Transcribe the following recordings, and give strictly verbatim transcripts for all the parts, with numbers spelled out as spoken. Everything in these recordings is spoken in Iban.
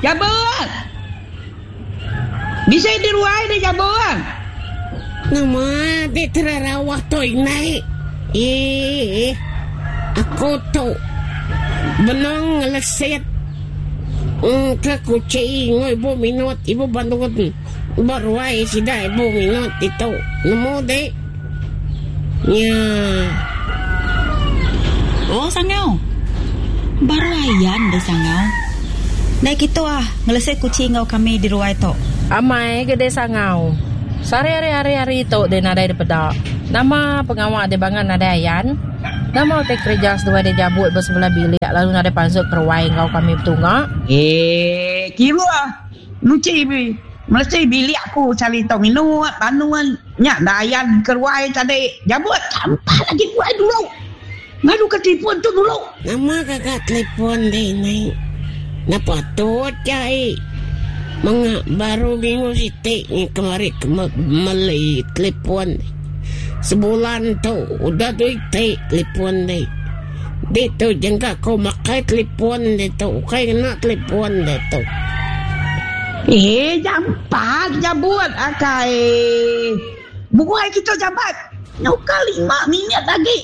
Jabut. Bisa di ruai deh jabut. Nama dek terarawah tu inai. Eh, aku tu benong ngelesit ke kuching enggau ibu minut ibu bandun ba ruai sida ibu minut ditu nemu dek nya. Oh sangau. Baru ayan deh sangau. Deh kitu ah ngelesit kuching enggau kami di ruai tu. Amai ke deh sangau. Sehari hari hari hari tu deh nadai dipeda. Nama pengawa deh bangat nadai ayan. Nama utai kereja seduai deh jabut ba sebelah bilik lalu nadai pansut ke ruai enggau kami betunga. Eh kiruh nuchi melesi bilik aku sehari tu minut banun nya enda ayan ke ruai tadi jabut sampal agi ruai dulu. Ngadu ke telefon tu dulu. Nama gaga telefon deh nai. Enda patut jai. Menga baru minggu siti ngi kemari ke meli telefon. Sebulan tu udah dua iti telefon deh. Ditu jengka ku makai telefon ditu ukai ngena telefon ditu. Eh jampat jabut akai. Buai kita jabat. Nyauka lima minit agi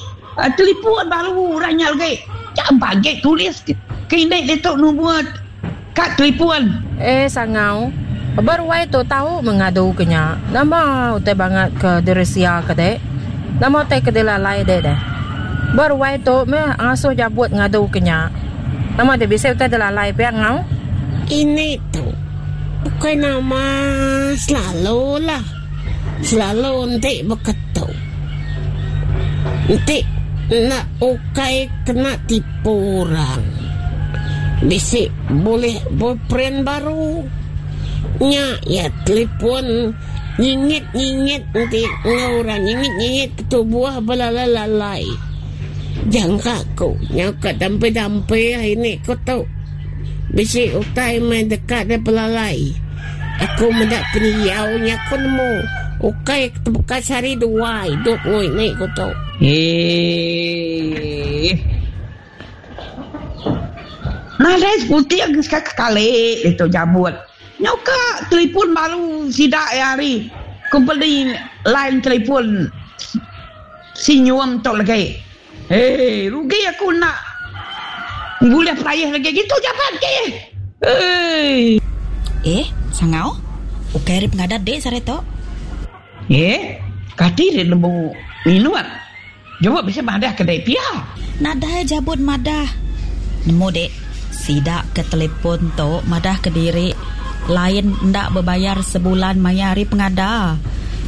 telefon baru orang nya lagi. Jampat agi tulis ke indi ditu nombor kad telefon. Eh sangau. Ba ruai tu tau mengadu ke nya. Nama utai bangat ke diresia ke dek. Nama utai ke dilalai dek deh. Ba ruai tu meh ngasuh jabut ngadu ke nya. Nama dek bisi utai dilalai pia ngau. Ini tu bukai nama selalu lah. Selalu enti beketu. Enti enda ukai kena tipu orang. Bisi bulih boyfriend baru. Nya iya telefon nyingit-nyingit enti enggau orang nyingit-nyingit ke tubuh belalai-lalai. Jangka ku nyau ka dampih-dampih ini ku tu. Bisi utai meh deka dipelalai. Aku meda pendiau nya ku nemu ukai tebuka sehari dua idup enggau ini ku tu. Eeh. Nadai seputing sekali ditu jabut. Nyau ka telefon baru sida iya ari kompeni line telefon Sinyum tu lagi. Hei rugi aku enda bulih peraih lagi gitu jabat ke. Hei. Eh, sangau. Ukai ari pengadat dik sehari tu. Eh, kati dik nemu minut. Jabut bisi madah ke dek pia. Nadai jabut madah. Nemu dek, sida ke telefon tu madah ke diri lain enda bebayar sebulan maya hari pengada.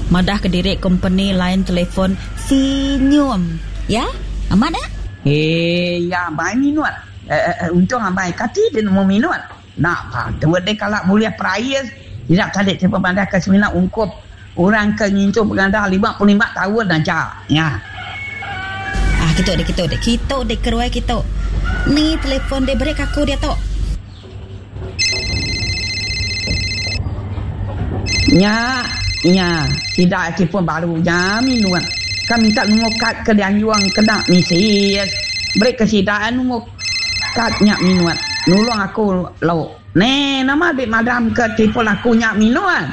Madah ke diri kompeni lain telefon Sinyum. Ya? Amat nya? Eh, ya amai minut. Eh, untung amai kati dek nemu minut. Enda patut dek kala bulih perais. Sida tadi ti pemadah ke semina ungkup orang ke ngintu pengada lima puluh lima taun aja nya. Ah kitu dek kitu dek kitu dek ke ruai kitu. Ni telefon dek beri ke aku diatu. Nya nya sida telefon baru nya minut. Ka minta numur kad ke dianjung kena misi. Beri ke sida numur kad nya minut. Nulung aku lo. Neh nama dek madam ke telefon aku nya minut.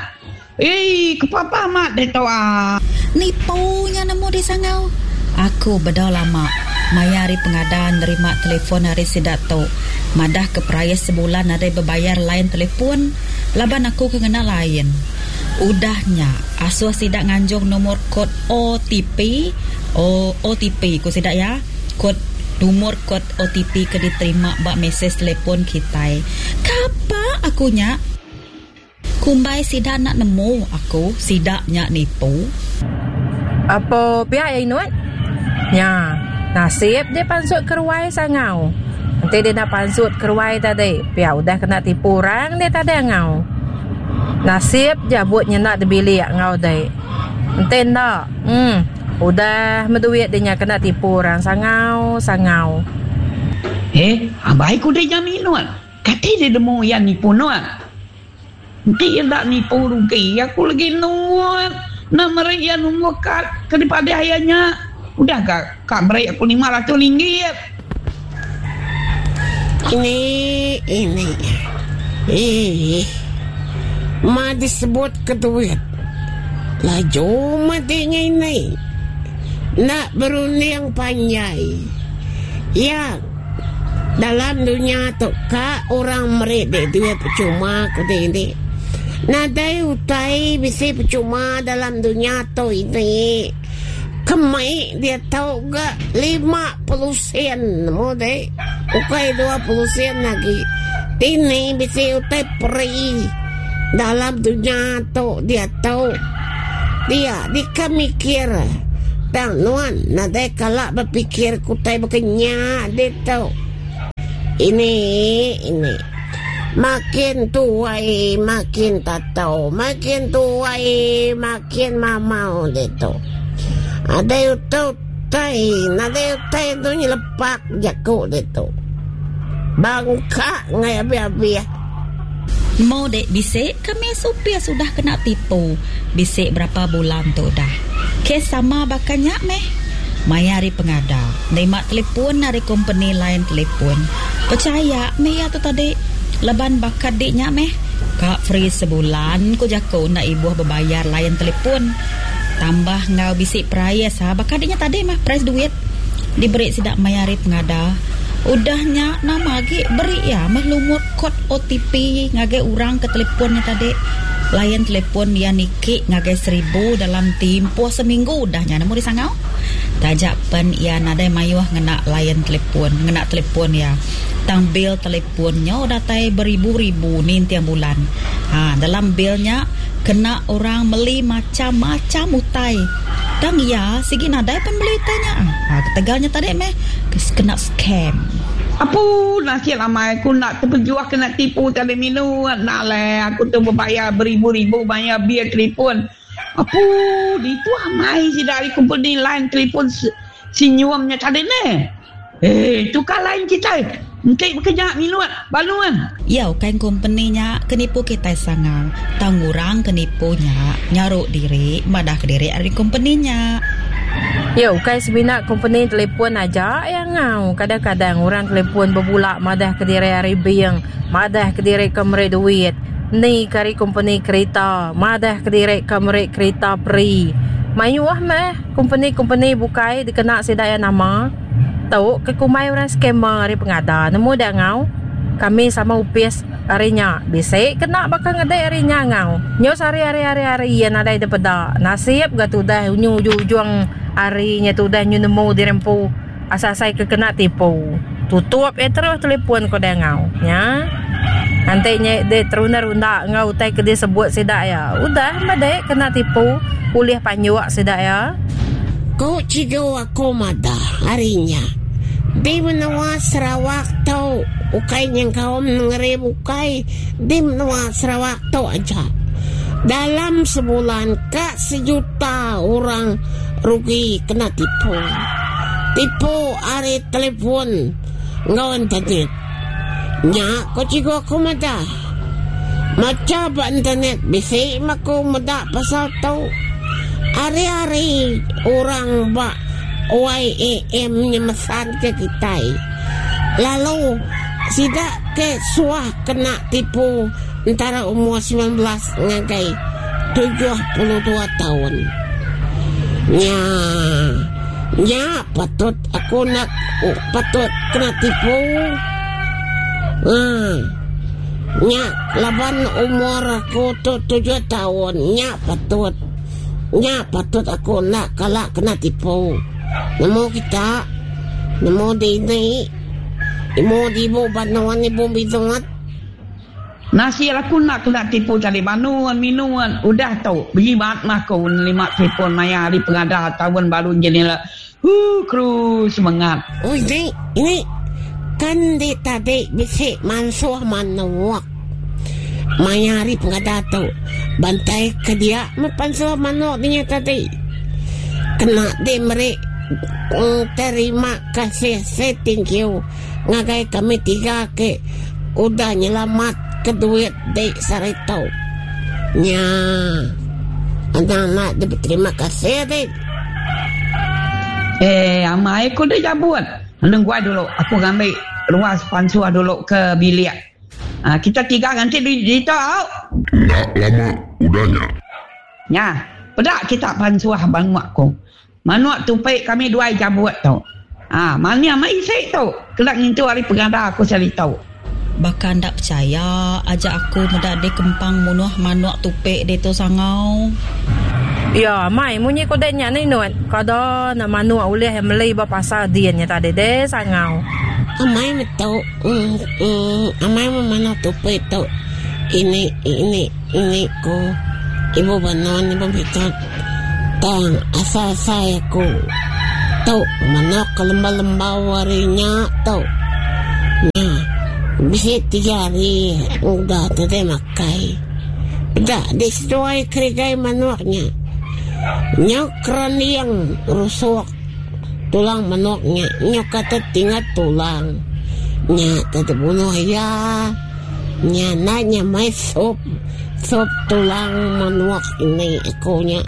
Eii kepapa amat deh tu ah. Nipu nya nemu deh sangau. Aku bedau lama maya hari pengada nerima telefon ari sida tu madah ke perais sebulan nadai bebayar line telefon laban aku ke ngena line. Udah nya asuh sida nganjung nomor kod O T P, O OTP ku sida iya, kod nomor kod O T P ke diterima ba mesej telefon kitai. Kapa aku nya? Kumbai sida enda nemu aku sida nya nipu. Apo pia iya inut? Nya, nasib dia pansut ke ruai sangau. Enti dia enda pansut ke ruai tadi, pia udah kena tipu orang dia tadi angau. Nasib jabut nyenda dibilik enggau dek. Enti enda, em, udah meh duit dia nya kena tipu orang sangau sangau. Eh, abai ku dek nya minut. Kati dek nemu iya nipu nuan? Enti iya enda nipu rugi aku lagi nuan enda meri iya nombor kad ke dipadah iya nya. Udah ga ka meri aku lima ratus ringgit. Ini ini Eh, ma disebut ke duit. Laju matinya ini. Nak berunding panjai. Ya, dalam dunia tu ka orang merik dek duit percuma ku dek. Nadai utai bisi percuma dalam dunia tu ini. Kemai dia tahu ga lima puluh sen mo dek. Ukai dua puluh sen lagi. Ini bisi utai peri dalam dunia tu dia tahu. Dia dika mikir. Tang nuan nadai kalak berpikir kutai berkenya dia tahu. Ini ini makin tuai makin tak tahu, makin tuai makin mamau dia tahu. Ada utai, ada utai tu nyelepak jaku dia tu. Bangka ngai habis-habis. Mau dek bisik kami supir sudah kena tipu. Bisik berapa bulan tu dah. Kes sama bakanya meh. Maya hari pengada. Nerima telefon dari company lain telefon. Percaya meh ya tu tadi. Leban bakat deknya meh. Kak free sebulan ku jaku nak ibuh berbayar lain telefon. Tambah ngau bisik price ha. Bakat deknya tadi mah price duit. Diberi sidak maya hari pengada. Udahnya nama lagi beri ya mah lumur kod O T P ngagai orang ke teleponnya tadi. Layan telefon dia niki ngagai seribu dalam tempoh seminggu udahnya nemu disangau. Tajak pen ia nadai mayuh ngena layan telefon, ngena telefon ya. Tang bil telefonnya udah tai beribu-ribu ni tiap bulan. Ha, dalam bilnya kena orang beli macam-macam utai. Tang ya sigi nadai pen beli utainya. Ha, ketegalnya tadi meh kena scam. Apa nasib ramai aku nak terpejuah kena tipu tadi minum. Nak lah aku tu berbayar beribu-ribu bayar bil telefon. Apa itu amai si dari company line telefon senyumnya tadi ni. Eh, tukar lain kita. Engkau bekerja minum baluan. Ya, kan company-nya kenipu kita sangang. Tangurang kenipunya nyaruk diri, madah ke diri ari company-nya. Ya, ukai sebina company telefon aja yang ngau. Kadang-kadang orang telefon berbulak madah ke diri ari biang, madah ke diri ke mere duit. Ni kari company kereta, madah ke diri ke mere kereta pri. Mayuah meh company-company bukai dikena sidaya nama. Tau ke kumai orang scammer ari pengada. Nemu dak ngau. Kami sama upis arinya. Bisik kena bakal ngedek arinya ngau. Nyo sehari hari hari hari ya nadai depeda. Nasib ga tudah nyu ujung arinya tudah nyu nemu dirempu. Asasai ke kena tipu. Tutup eh terus telefon ko dah ngau. Ya. Nanti nya de terunda-runda ngau utai ke dia sebut sidak ya. Udah madek kena tipu. Kuliah panyuak sidak ya. Ko cigo aku madah harinya. Di menua Sarawak tau ukai yang kaum ngeri bukai di menua Sarawak tau aja. Dalam sebulan kak sejuta orang rugi kena tipu. Tipu ari telefon ngau internet. Nya ko cigo aku madah. Maca ba internet bisi maku madah pasal tau. Hari-hari orang ba Y A M nyemesan ke kita. Lalu sidak ke suah kena tipu antara umur sembilan belas ngagai tujuh puluh dua tahun. Nya, nya patut aku nak oh, patut kena tipu. Hmm. Nya laban umur aku tu tujuh tahun. Nya patut. Nya patut aku nak kalak kena tipu. Nemu kita, nemu di ini, nemu di ibu banuan ibu biduat. Nasi aku nak kena tipu cari banuan minuan. Udah tau, berjimat mah aku lima telefon maya hari pengada tahun baru jadi lah. Hu kru semangat. Oh ini, ini kan di tadi bisik mansuh manuak. Maya hari pengada tu bantai ke dia mepansuh manuak dia tadi. Kena di merik terima kasih say thank you ngagai kami tiga ke udah nyelamat ke duit dek saritau. Nya anak-anak dia berterima kasih dek. Eh, amai aku dah jabut. Nunggu dulu aku ngambil luas pansuah dulu ke bilik. Ha, kita tiga nganti di ditu au. Enda lama udah nya. Nya, peda kita pansuh manuk ku. Manuk tupi kami duai jabut tu. Ha, mania mai isi tu kena ngintu hari pengada aku sehari tu. Baka enda percaya aja aku meda dek kempang munuh manuk tupi ditu sangau. Ya, mai munyi ko dek nya ni Nut. Kada nak manuk ulih yang meli ba pasar din nya tadi deh sangau. Amai betul. Mm, mm, amai manuk tupi tu. Ini ini ini ku ibu banon ibu betul. Tang asal saya ku tu manuk ke lembau-lembau harinya tu. Nya bisi tiga hari udah tadi makai. Dah di sesuai kerigai manuknya. Nyok keraniang rusuk tulang manuknya. Nyok kata tinggal tulang. Nya tadi bunuh ya. Nya nanya mai sop sop tulang manuk ini aku nya.